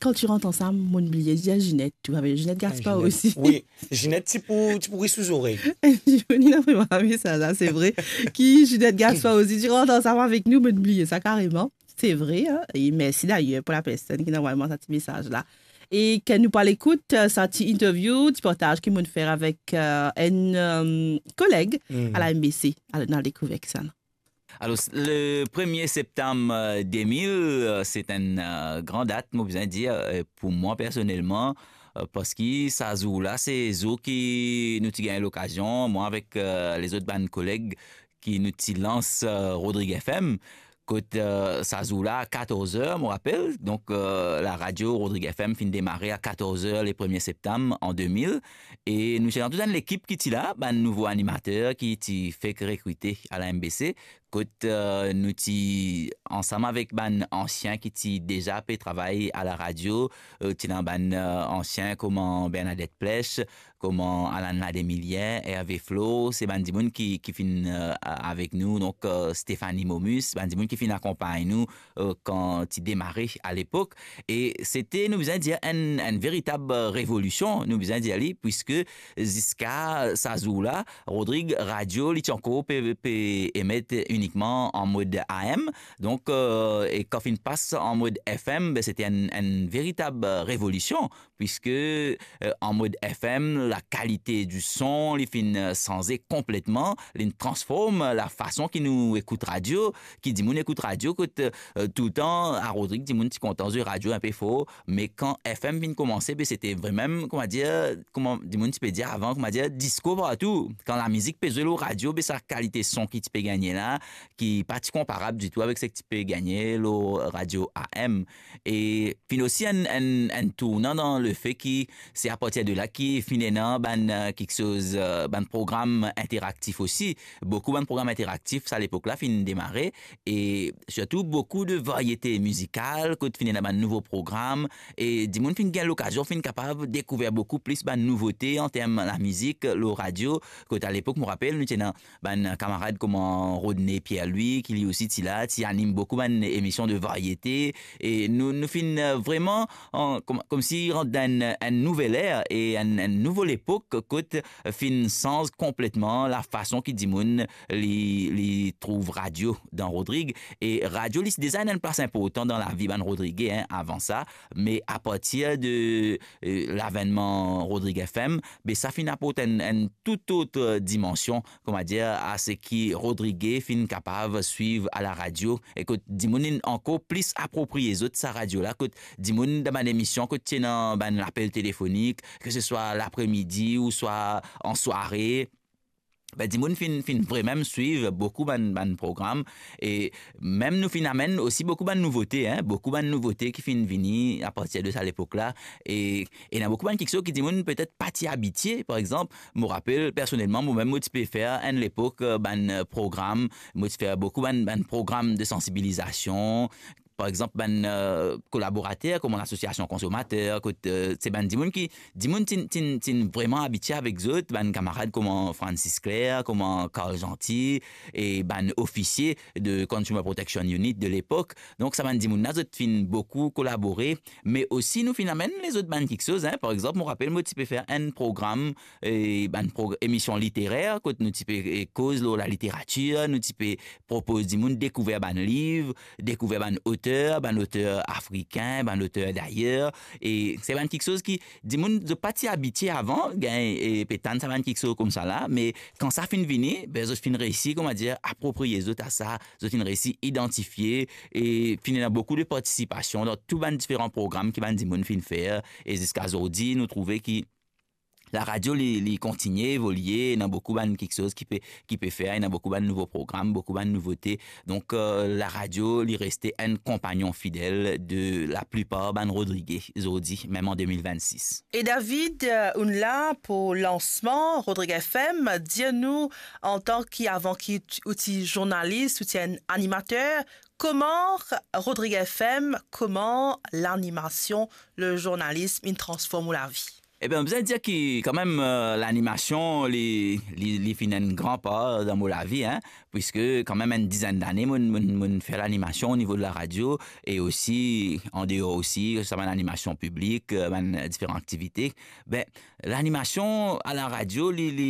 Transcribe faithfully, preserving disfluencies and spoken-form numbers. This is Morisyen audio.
kan ti rant ansam, mo'nn bliye dir Ginette tou, avek Ginette Gaspard osi. Wi, Ginette ti pou, ti pou ri sou zorey. Li ena vremem sa, sa se vre. Ki Ginette Gaspard osi, ti rant ansam avek nou, mo'nn bliye sa kareman. Se vre, hein? E mersi dayer pou lapersonn ki inn avoy mwa sa ti mesaz la. E ki nou pou al ekout, eh, sa ti interview, ti partaz ki mo'nn fer avek, eh, enn, eh, koleg a la M B C. Alor, nou al dekouver kisannla. Alor, le premie septam, eh, de mil, eh, se enn, eh, gran dat, mo bizin dir, eh, pou mwa personelman, eh, parski sa zour la, se zour ki nou ti gagn lokazion, mwa avek, eh, lezot bann koleg ki nou ti lans, eh, Rodrig F M, kot, eh, sa zour la, a katorz er, mo rapel, donk, eh, laradio Rodrig F M finn demare a katorz er le premie septam an de mil, e nou ti ena tou enn lekip ki ti la, bann nouvo animater ki ti fek rekrite a la M B C, kot, eh, nou ti ansam avek bann ansien ki ti deza pe travay a laradio, eh, ti ena bann, eh, ansien kouma Bernadette Plech, kouma Alan Lademilien, Hervé Flo, se bann dimoun ki, ki finn, eh, avek nou, donk, eh, Stéphanie Momus, bann dimoun ki finn akonpagn nou, eh, kan ti demare a lepok. E sete, nou bizin dir, enn, enn veritab, eh, revolision, nou bizin dir li, puiske ziska sa zour la, Rodrig Radio, li ti ankor pe, pe emet inikman an mod A M. Donk, eh, e kan finn pas an mod F M, be, sete enn, enn veritab, eh, revolision, puiske, eh, an mod F M, lakalite di son, li finn, eh, sanze konpletman, li transform lafason ki nou ekout radio, ki dimoun ekout radio, kot, eh, toultan, a Rodrig, dimoun ti kontan zwe radio inpe for, me kan F M vinn koumanse, be, sete vremem, kouma dir, kouma dimoun ti pe dir avan, kouma dir, disko partou. Kan lamizik pe zwe lor radio, be, sa kalite son ki ti pe gagne la, ki pa ti konparab ditou avek seki ti pe gagne lor radio A M. E finn osi enn, enn, enn tournan dan lefe ki se apartir de la ki finn ena bann, eh, kiksoz, eh, bann program interaktif osi. Boukou bann program interaktif, sa lepok la, finn demare. E sirtou boukou de variete mizikal, kot finn ena bann nouvo program. E dimoun finn gagn lokazion, finn kapav dekouver boukou plis bann nouvote an term lamizik lor radio. Kot a lepok, mo rapel, nou ti ena bann kamarad kouma Rodney Pierre-Louis, ki li osi ti la, ti anim boukou bann emision de variete. E nou, nou finn, eh, vremem, an, kom, komsi rant dan enn, enn nouvel er e enn, enn nouvo lepok, kot finn sanz konpletman lafason ki dimoun li, li trouv radio dan Rodrig. E radio, li ti deza ena enn plas inportan dan lavi bann Rodrige, en, avan sa. Me apartir de, eh, lavennman Rodrig F M, be, sa finn aport enn, enn tou lot, eh, dimansion, kouma dir, a seki Rodrige finn kapav swiv a laradio, e kot dimoun inn ankor plis apropriye zot sa radio la, kot dimoun dan bann emision, kot ti ena bann lapel telefonik, ke se swa lapremidi ou swa an sware, be, dimoun finn, finn vremem swiv boukou bann, bann program, e mem nou finn amenn osi boukou bann nouvote, en, boukou bann nouvote ki finn vini apartir de sa lepok la, e ena boukou bann kiksoz ki dimoun petet pa ti abitie. Par exanp, mo rapel personelman, mo mem mo ti pe fer enn lepok, eh, bann, eh, program, mo ti fer boukou bann, bann program de sansibilizasion. Par exanp, bann, eh, kolaborater kouma lasosiasion konsomater, kot, eh, se bann dimoun ki, dimoun ti'n, ti'n, ti'n vremem abitie avek zot, bann kamarad kouma Francis Clair, kouma Carl Gentil, e bann ofisie de Consumer Protection Unit de lepok. Donk, sa bann dimoun la, zot finn boukou kolabore, me osi nou finn amenn lezot bann kiksoz, en. Par exanp, mo rapel, mo ti pe fer enn program, e bann pro-, emision literer, kot nou ti pe, e, koz lor laliteratir, nou ti pe propoz dimoun dekouver bann liv, dekouver bann oter, bann oter afrikin, bann oter dayer, e se bann kiksoz ki dimoun zot pa ti abitie avan, gagn, e, pe tann sa bann kiksoz koumsa la, me kan sa finn vini, be, zot finn reisi, kouma dir, apropriye zot a sa, zot finn reisi idantifie, e finn ena boukou de partisipasion dan tou bann diferan program ki bann dimoun finn fer, e ziska zordi, nou trouve ki laradio, li, li kontigne evolie, ena boukou bann kiksoz ki pe, ki pe fer, ena boukou bann nouvo program, boukou bann nouvote. Donk, eh, laradio, li reste enn konpagnon fidel de laplipar bann Rodrige zordi, mem an de mil vennsis. E David, eh, ou'nn la pou lansman Rodrig F M, dir nou, antan ki, avan ki ou ti, ou ti zournalis, ou ti enn animater, kouma Rodrig F M, kouma lanimasion, le zournalism, inn transform ou lavi? Ebien, bizin dir ki kanmem, eh, lanimasion, li, li, li finn enn gran par dan mo lavi, hein, puiske kanmem enn dizenn dane, mo, mo, mo fer lanimasion o nivo de laradio, e osi, an deor osi, sa bann animasion piblik, eh, bann diferan aktivite. Be, lanimasion a laradio, li, li,